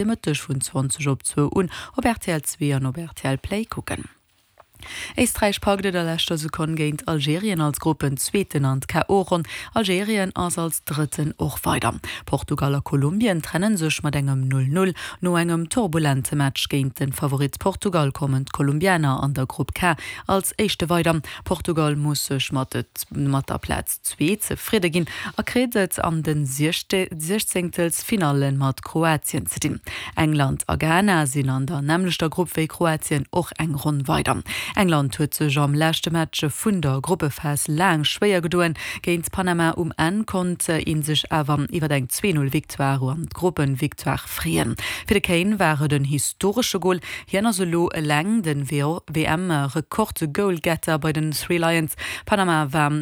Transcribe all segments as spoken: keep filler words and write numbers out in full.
Mëtteg vun zwanzeg op zwou un op rtl zwee an op rtl Play kucken. Éisträich packt et a leschter Sekonn géint Algerien als Gruppenzweeten an d'K O-Ronn. Algerien ass als Drëtten och weider. Portugal a Kolumbien trenne sech mat engem Null Null. No engem turbulente Match géint de Favorit Portugal kommen d'Kolumbianer an der Grupp K als Éischte weider. Portugal muss sech mat mat der Plaz zwee zefridde ginn a kritt et an de Siechzéngtelsfinalle mat Kroatien ze dinn. England a Ghana sinn an der nämmlechter Grupp wéi Kroatien och eng Ronn weider. England huet sech am leschte Match vun der Gruppephas laang schwéier gedoen géint Panama. Um Enn konnt ee sech awer iwwer eng Zwee-Null-Victoire an d'Gruppenvictoire freeën. Fir de Kane war et en historesche Gol. Hien ass elo eleng de W M-Rekord-Goalgetter bei den Three Lions. Panama war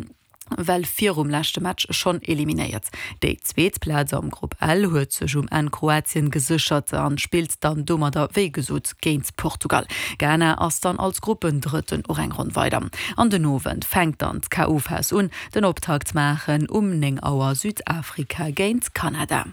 well virum leschte Match schonn eliminéiert. Déi zweet Plaz am Grupp L huet sech um Enn Kroatien geséchert an spillt dann domadder wéi gesot géint Portugal. Ghana ass dann als Gruppendrëtten och eng Ronn weider. An den Owend fänkt dann d'K O Phas un. Den Optakt maachen um néng Auer Südafrika géint Kanada.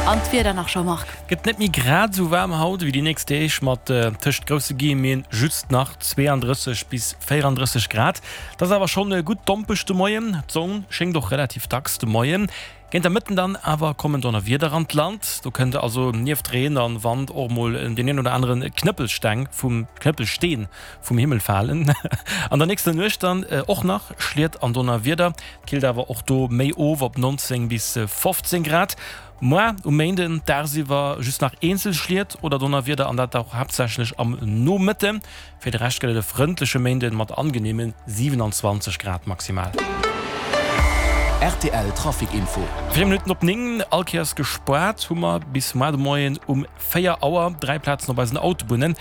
An d'Wieder nach, Jean-Marc. Gëtt net méi grad esou waarm haut wéi déi nächst Deeg, mat tëscht grousse Guillemeten just nach zweeandrësseg bis véierandrësseg Grad. Dat ass awer schonn gutt dompeg de Moien, d'Sonn schéngt och relativ dacks de Moien. Géint der Mëtten dann awer kommen Donnerwieder an d'Land, do kënnt also nieft Reen an Wand och mol deen een oder anere Knëppelsteng vum Knëppelsteen vum Himmel falen. An der nächster Nuecht dann och nach Schliet an Donnerwieder, killt awer och do méi of op neunzéng bis fofzéng Grad. Moar um Méinden dagsiwwer just nach eenzel Schliet oder Donnerwieder an dat och haaptsächlech am Nomëtten. Fir de Rescht gëtt et e frëndleche Méinden mat angeneeme siwenanzwanzeg Grad maximal. Rtl Trafic Info. Véier Minutten op néng, all Kéiers gespaart hu mer bis muar de Moien um véier Auer dräi Plazen op eisen Autobunnen.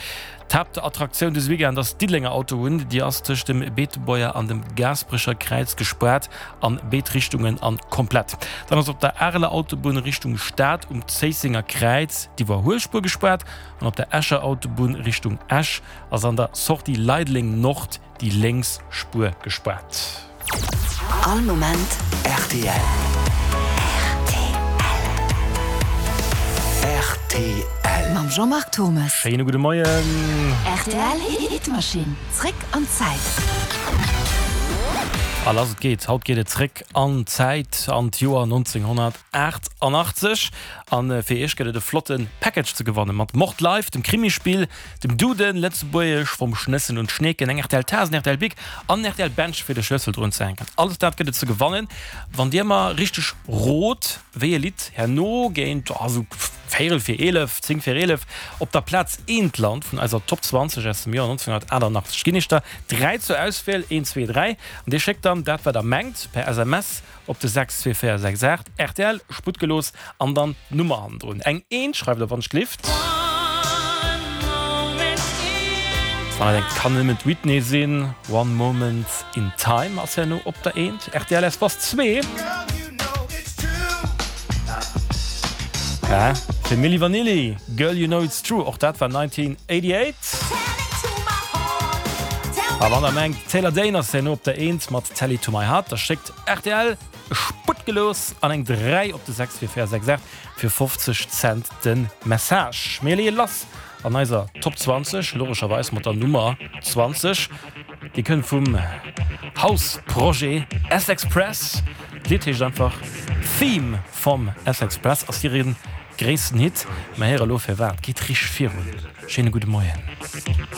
D'Haaptattraktioun dëse Weekend ass d'Diddelenger Autobunn. Déi ass tëscht dem Beetebuerger an dem Gaasperecher Kräiz gespaart an béid Richtungen an komplett. Dann ass op der Areler Autobunn Richtung Stad um Zéissenger Kräiz d'Iwwerhuelspuer gespaart an op der Escher Autobunn Richtung Esch ass an der Sortie Leideleng Nord déi lénks Spuer gespaart. All Moment rtl. Rtl. Mam Jean-Marc Thommes. Schéine gudde Moien. Rtl Hitmaschinn, zréck an d'Zäit. A lass et geet, haut geet et zréck an d'Zäit, an d'Joer nonzénghonnertaachtanachtzeeg. An fir iech gëtt et e flotte Package ze gewannen, mat Mord Live, dem Krimispill, dem Duden, Lëtzebuergesch vom Schnëssen und Schneeken, eng rtl Taass, en rtl Bic an en rtl Bench fir de Schlëssel drun ze hänken. Alles dat gëtt et ze gewannen, wann dir mer richteg rot, wéi e Lidd herno géint esou véierel fir eelef, zéng fir eelef op der Plaz eent lant vun eiser Top zwanzeg aus dem Joer nonzénghonnertaachtanachtzeeg. Ginn iech der dräi zur Auswiel, een, zwee, dräi, an dir schéckt dann dat wat der mengt per S M S op de sechs zwee véier sechs aacht, rtl, Sputtgelooss an dann d'Nummer hannendrun. Eng Eent schreift der wann ech gelift. Wann der denkt, kann nëmmen d'Whitney sinn, One Moment in Time ass herno op der Eent, rtl Espace zwee. Hä? Fir Milli Vanilli, Girl You Know It's True, och dat war nineteen eighty-eight. A wann der mengt, Taylor Dayne ass herno op der Eent mat Tell It To My Heart, da schéckt rtl Sputtgelooss an eng dräi op de sechs vier véier sechs aacht fir fofzeg Cent de Message. Mir leeë lass an eiser Top zwanzeg, logescherweis mat der Nummer zwanzeg. Déi kënnt vum House-Projet S-Express. D'Lidd heescht einfach Theme vom S-Express, ass hiren gréissten Hit. Mer héiere lo firwat. Geet richteg virun. Schéine gudde Moien.